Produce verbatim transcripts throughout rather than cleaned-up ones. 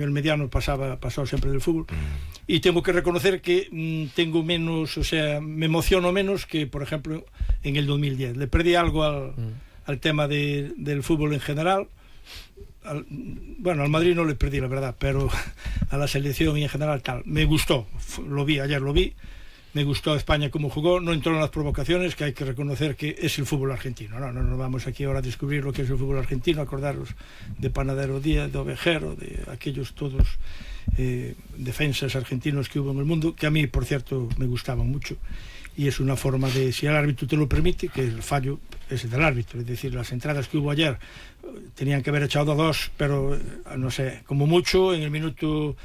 el mediano pasaba pasó sempre del fútbol mm. e tengo que reconocer que mm, tengo menos, o sea, me emociono menos que, por ejemplo, en el dos mil diez. Le perdí algo al, mm. al tema de, del fútbol en general. Al, bueno, al Madrid no le perdí, la verdad, pero a la selección y en general tal. Me gustó, lo vi, ayer lo vi. Me gustó España como jugó, no entró en las provocaciones, que hay que reconocer que es el fútbol argentino. No, no nos vamos aquí ahora a descubrir lo que es el fútbol argentino, acordaros de Panadero Díaz, de Ovejero, de aquellos todos eh, defensas argentinos que hubo en el mundo, que a mí, por cierto, me gustaban mucho. Y es una forma de, si el árbitro te lo permite, que el fallo es del árbitro, es decir, las entradas que hubo ayer tenían que haber echado dos, pero no sé, como mucho en el minuto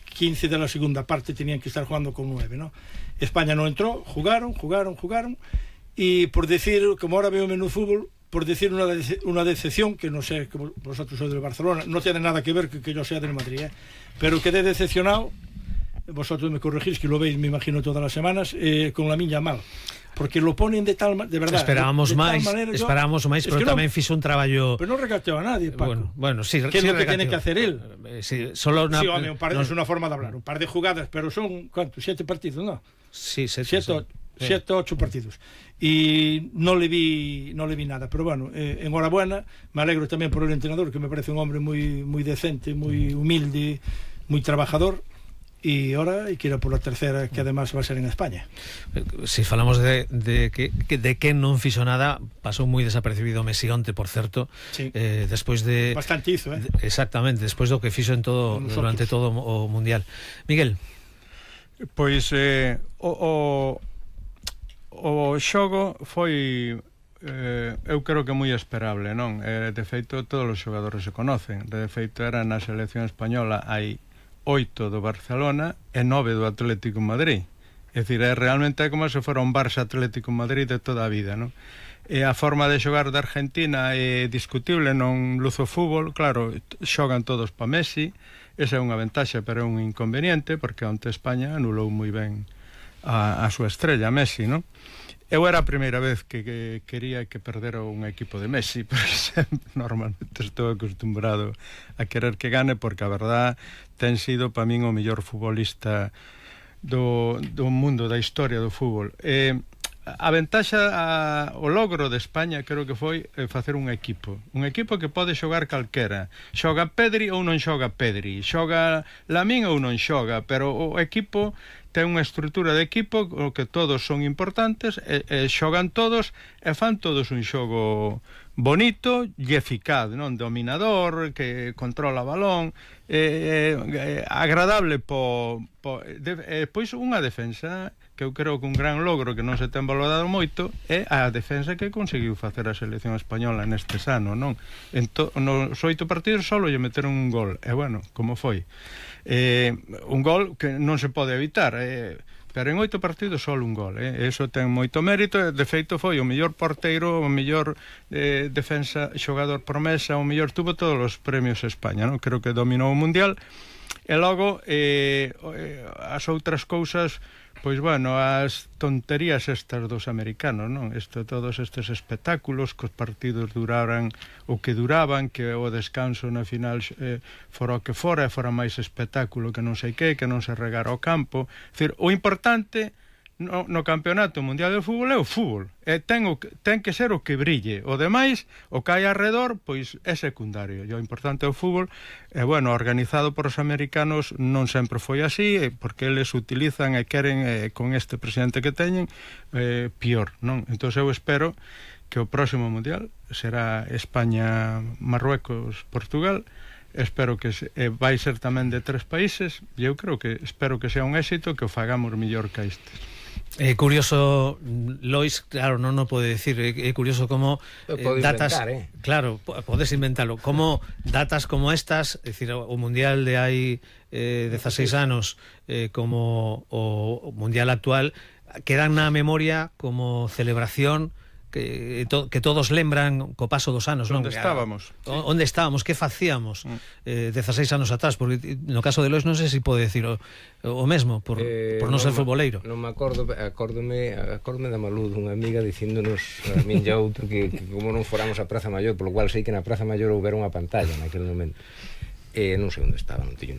quince de la segunda parte tenían que estar jugando con nueve, ¿no? España no entró, jugaron, jugaron, jugaron, y por decir, como ahora veo menú fútbol, por decir una, de, una decepción, que no sé, que vosotros sois del Barcelona, no tiene nada que ver que, que yo sea del Madrid, ¿eh? Pero quedé decepcionado, vosotros me corregís, que lo veis, me imagino, todas las semanas, eh, con la miña mal, porque lo ponen de tal de verdad, esperábamos de, de máis, manera, yo, esperábamos máis, pero tamén no, fixo un traballo, pero non regateou a nadie, Paco. Bueno, bueno, sí, que sí é lo que tiene que hacer él. Eh, sí, solo una, sí, home, un par de, no, es una forma de hablar, un par de jugadas, pero son, ¿cuántos? Siete partidos, ¿no? Sí, siete, siete, sí. siete, ocho partidos. Y no le vi no le vi nada, pero bueno, eh, enhorabuena, me alegro también por el entrenador, que me parece un hombre muy, muy decente, muy humilde, muy trabajador. Y ahora hay que ir a por la tercera, que además va a ser en España. Si falamos de, de que de que non fixo nada, pasou moi desapercibido Messi onte, por certo, sí. eh, despois de... Bastante hizo, eh? De, exactamente, despois do que fixo en todo, durante todo o Mundial. Miguel? Pois eh, o, o, o xogo foi... Eh, eu creo que moi esperable, non? Eh, de feito, todos os xogadores se conocen. De feito, era na selección española hai oito do Barcelona e nove do Atlético de Madrid. É dicir, é realmente como se fora un Barça Atlético de Madrid de toda a vida, non? E a forma de xogar de Argentina é discutible, non luzo fútbol, claro, xogan todos pa Messi, esa é unha ventaxa, pero é un inconveniente, porque onte España anulou moi ben a, a súa estrella, Messi, non? Eu era a primeira vez que, que quería que perdera un equipo de Messi, porque sempre, normalmente estou acostumbrado a querer que gane, porque a verdad ten sido para min o mellor futbolista do, do mundo, da historia do fútbol. Eh, a ventaxa, a, o logro de España creo que foi eh, facer un equipo, un equipo que pode xogar calquera, xoga Pedri ou non xoga Pedri, xoga Lamín ou non xoga, pero o equipo ten unha estrutura de equipo o que todos son importantes e, e xogan todos e fan todos un xogo bonito e eficaz, non? Dominador, que controla o balón, eh, eh, agradable po, po de, eh, pois unha defensa que eu creo que un gran logro que non se ten valorado moito é a defensa que conseguiu facer a selección española neste ano, non? En to, nos oito partidos solo lle meteron un gol, e bueno, como foi? Eh, un gol que non se pode evitar, eh, pero en oito partidos só un gol, eh? Eso ten moito mérito. De feito foi o mellor porteiro, o mellor eh, defensa, xogador promesa, o mellor, tuvo todos os premios España, non? Creo que dominou o Mundial. E logo eh, as outras cousas, pois bueno, as tonterías estas dos americanos, non? Isto, todos estes espectáculos, que os partidos duraran o que duraban, que o descanso na final eh, fora o que fora, fora máis espectáculo que non sei que, que non se regara o campo. É dicir, o importante no, no campeonato mundial de fútbol é o fútbol, e ten, o, ten que ser o que brille, o demais, o que hai alrededor, pois é secundario, e o importante é o fútbol. E bueno, organizado por os americanos non sempre foi así, porque eles utilizan e queren, eh, con este presidente que teñen, eh, pior, non? Entón eu espero que o próximo mundial será España, Marruecos, Portugal. Espero que se, eh, vai ser tamén de tres países, e eu creo que espero que sea un éxito, que o fagamos mellor que estes. É eh, curioso, Lois, claro, non o pode decir, é eh, curioso como eh, datas, inventar, eh? Claro, podes inventalo, como datas como estas, é dicir, o Mundial de hai eh, dezaseis anos, eh, como o, o Mundial actual, quedan na memoria como celebración que, to, que todos lembran co paso dos anos, non? Onde estábamos? O, onde estábamos, que facíamos eh, dezaseis anos atrás, porque no caso de Lois non sei se pode decir o, o mesmo por, eh, por non ser futboleiro. Non me acordo, acórdome, acórdome da Malud, unha amiga dicíndonos a min e outro que, que como non foramos a Praza Maior, polo cual sei que na Praza Maior houbera unha pantalla naquele momento. Eh, non sei onde estaba, non teño ni